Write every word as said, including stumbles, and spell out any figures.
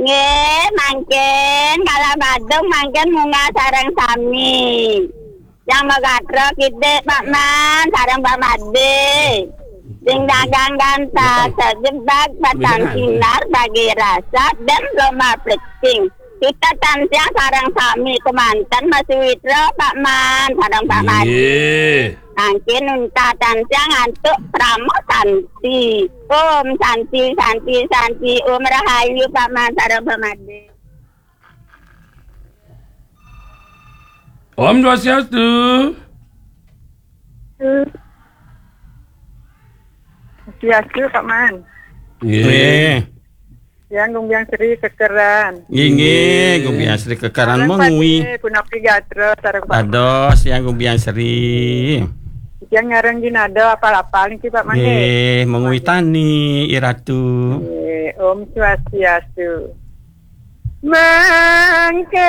Nggih, mangkin kala Badung mangkin munggah sareng sami. Yang magatra kidik Pak Man sareng Pak Made. Sing dagang gantasa jebak batang sinar bagi rasa dan loma plecing. Kita tansah sareng sami kemanten Mas Witra Pak Man sareng Pak Made. Nggih. Mangkin unta tansah ngantuk krama santi. Om santi, santi, santi. Om rahayu Pak Man sareng Pak Made. Om Swastiastu. Swastiastu, Pak Man. Nggih. Nggih. Yang Gumbiang Sri kekeran. Inggih, Gumbiang Sri kekeran. Sareng mengui. Pade, punapi gatra sareng Pak. Dados yang Gumbiang Sri. Yang ngareng gin ada apal-apal niki, Pak Man, nggih. Nggih, mengui tani, Iratu. Nggih, Om Swastiastu. Mangke